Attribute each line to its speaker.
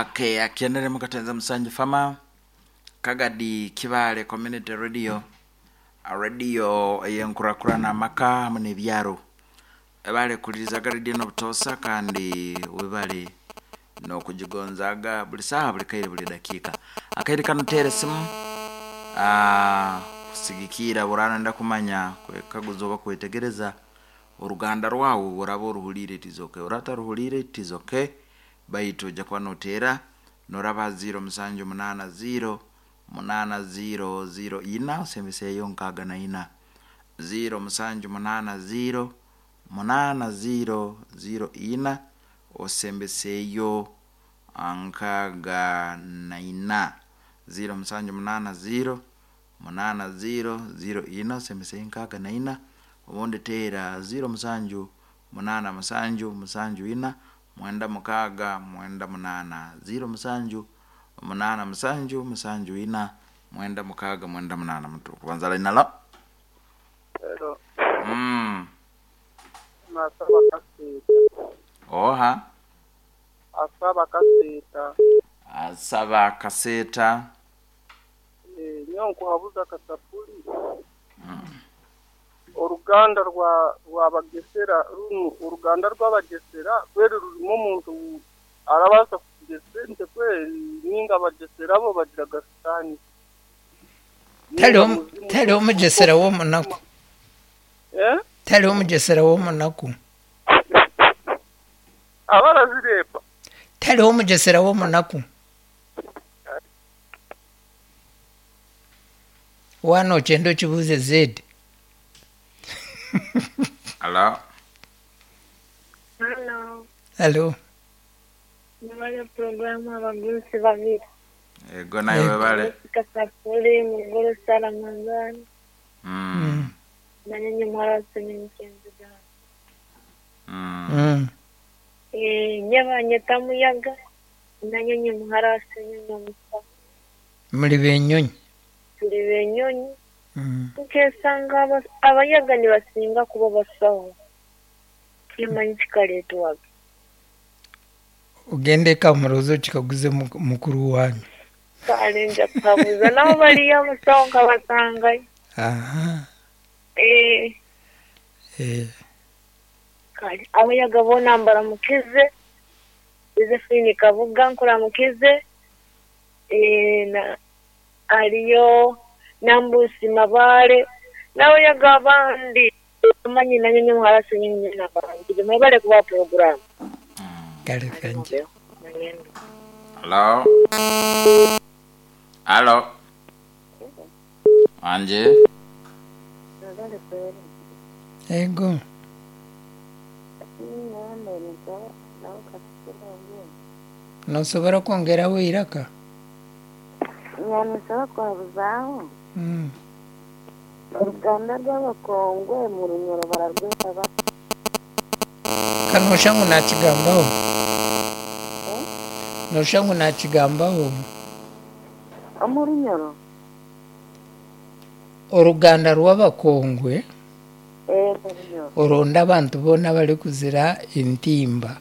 Speaker 1: Okay, akienere mukatenza Musanju Fama Kagadi Kibale Community Radio Radio eyenkurakurana amaka hamwe n'ebyaro ebale kulirizaga radio n'obutosa kandi webale n'okugigonzaga buli saaha buli kaire buli dakiika akaire kanu teera esimu kusigikiira bw'oraba kumanya kwekaguza oba kwetegereza oruganda rwawe bworaba oruhuliire it is okay oraba otaruhuliire it is okay baitu ojja kuba noteera noraba 0 musanju munaana 0 munaana 0 0 ina osembeseeyo nkaaga na ina 0 musanju munaana 0 munaana 0 0 ina osembeseeyo nkaaga na ina 0 musanju munaana 0 munaana 0 0 ina osembeseeyo nkaaga na ina obundi teera 0 musanju munaana musanju musanju ina mwenda mukaaga mwenda munaana 0 musanju munaana musanju musanju ina mwenda mukaaga mwenda munaana mutu kubanza line alo
Speaker 2: Hello. Asaba Kasita.
Speaker 1: Oha
Speaker 2: Asaba Kasita.
Speaker 1: Asaba Kaseta.
Speaker 2: Nyowe nkuhabuza kasapuri. Oruganda rwa rwabagesera runu oruganda rw'abagesera kweri rurimu omuntu arabaasa kugira sente kweri ninga abagesera bo bagiraga sitaani.
Speaker 3: Tariho omugyesera w'omunaku.
Speaker 2: Eh?
Speaker 3: Tariho omugyesera w'omunaku.
Speaker 2: Abarazireeba.
Speaker 3: Tariho omugyesera w'omunaku. Waana okyenda okibuuze Zedi.
Speaker 1: Alo.
Speaker 4: Halo,
Speaker 3: Halo.
Speaker 4: nibale programu abagurusi babiri.
Speaker 1: Ego nawe webale.
Speaker 4: Kasapuli, Muguru Sara Ramadhani, na nyinyi mwarasi ni mchenzi gani. Nyaba nyeta muyaga, na nyinyi mwarasi nyinyi omusa.
Speaker 3: Muri benyonyi.
Speaker 4: Tuli benyonyi. Nkesanga abayaga nibasinga kuba basawo. Kimanyi kikareetwaga.
Speaker 3: Ogende eka murozi okikaguze mukuru wanyu.
Speaker 4: Kale nja kuhabuza nabo bariyo abasawo nkabasangayo.
Speaker 3: Aha.
Speaker 4: Eh. Kale abayaga boona mbaramukize. Josephine Kabuga nkuramukize. Na ariyo Nambusi Mabare n'abayaga abandi manyi na nyinyi mwarasi nyinyi nabarangire mwebale kuba program.
Speaker 3: Kale kanje.
Speaker 1: Hello. Halo. Anje.
Speaker 3: Ego. Nosobora kwongeraho eiraka?
Speaker 5: Nyanisaba kwabuzaho. Oruganda rw'abakongwe mu Runyoro bararweta bata?
Speaker 3: Ka noshusha ngu nakigambaho. Noshusha ngu nakigambaho.
Speaker 5: Omu Runyoro?
Speaker 3: Oruganda rw'abakongwe
Speaker 5: Mu Runyoro.
Speaker 3: oronda abantu boona abarikuzira entimba.